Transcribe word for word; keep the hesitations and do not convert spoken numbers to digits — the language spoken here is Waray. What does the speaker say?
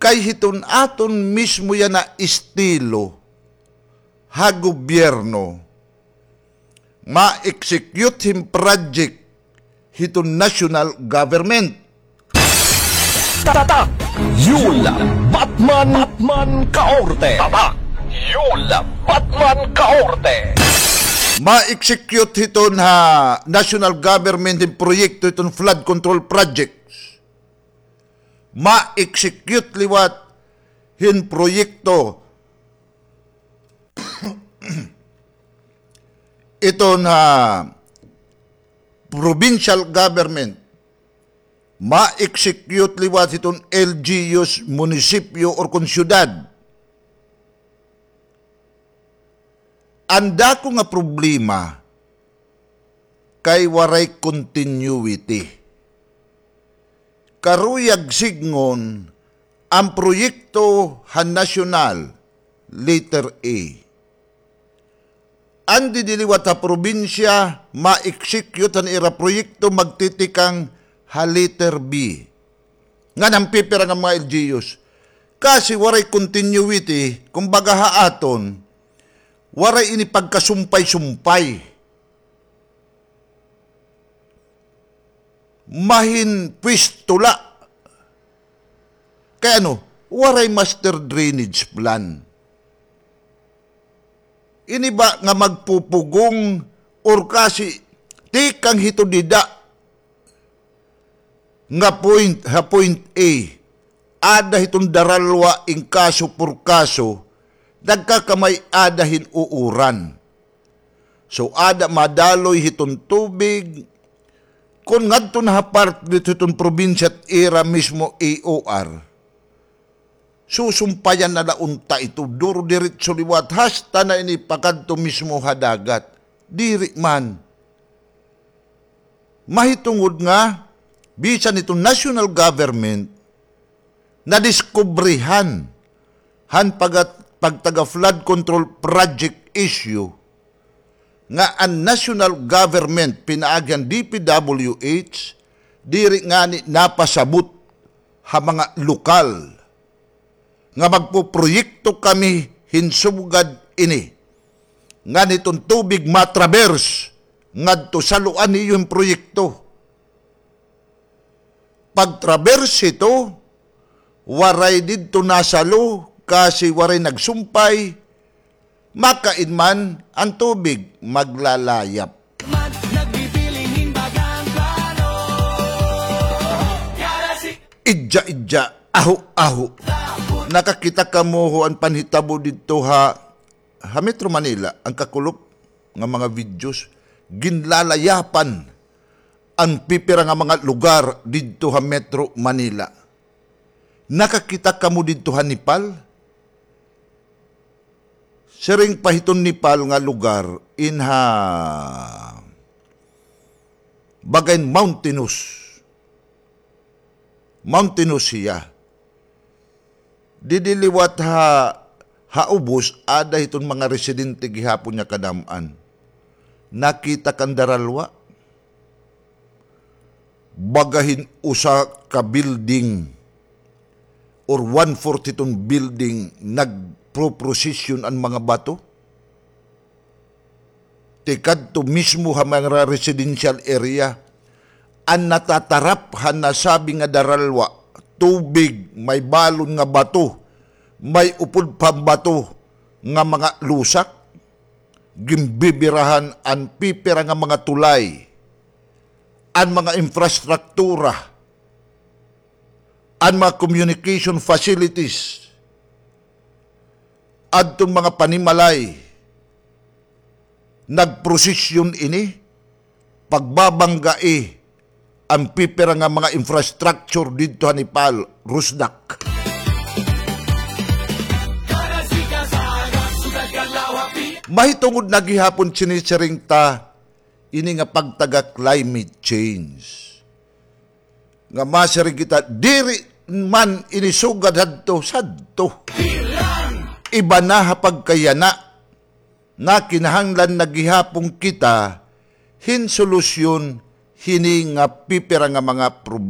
Kay hiton aton mismo yana estilo ha gobyerno, ma-execute hin project hiton national government. Tatak Yul Batman, Batman Kaorte. Tatak Yul Batman Kaorte. Ma-execute hiton ha national government hin proyekto hiton flood control projects. Ma-execute liwat hin proyekto iton ha provincial government, ma-execute liwat hiton L G Us, munisipyo, or kon syudad. An dako nga problema kay waray continuity. Karuyag sidngon an proyekto han nasyonal, letter A. An didi liwat ha probinsya, ma-execute an ira proyekto, magtitikang ha letter B. Ngan han pipira nga mga L G Us. Kasi waray continuity, kumbaga ha aton, waray ini pagkasumpay-sumpay. Mahinpwesto la. Kay ano, waray master drainage plan. Ini ba nga magpupugong or kasi tikang hito dida nga point, ha point A, ada hiton Daralwa in kaso por kaso, nagkakamay-ada hin uuran. So, ada madaloy hiton tubig. Kon ngadto na ha part didto hiton probinsya it ira mismo A O R, susumpayan na la unta ito, duro diretso liwat, hasta na ini pakadto mismo ha dagat. Diri man. Mahitungod nga, bisan ito national government, nadiskubrihan han pagat-, pagtaga flood control project issue nga an national government pinaagi han D P W H, diri ngani napasabot ha mga lokal nga magpoproyekto kami hin sugad ini, ngan hiton tubig matraverse ngadto, saluan niyo hin proyekto. Pagtraverse hito, waray didto nasalo, kasi waray nagsumpay, makain man an tubig, maglalayap. Idya-idya, aho-aho. Nakakita kamo ho an panhitabo didto ha, ha Metro Manila, an kakulop nga mga videos, ginlalayapan an pipira nga mga lugar didto ha Metro Manila. Nakakita kamo didto ha Nepal? Siring pa hiton Nepal nga lugar in ha baga in mountainous. Mountainous hiya. Didi liwat ha, ha ubos, ada hiton mga residente gihapon nga kadam-an. Nakita kan Daralwa. Baga hin usa ka building or one-fourth hiton building, nagproprosesyon an mga bato. Tikadto mismo ha mga residential area, an natatarap han nasabi nga Daralwa, tubig, may balon nga bato, may upod pa bato nga mga lusak, ginbibirahan an pipira nga mga tulay, an mga infrastruktura, an mga communication facilities, adton mga panimalay, nagprosesyon ini, pagbabanggai an pipira nga mga infrastructure didto ha Nepal, Rusdak. Mahitungod na gihapon sinisiring ta ini nga pagtaga climate change. Nga masiring kita, diri man ini sugad hadto, sadto. Iba na ha pagkayana. Nga kinahanglan na gihapon kita hin solusyon hini nga pipira nga mga problema.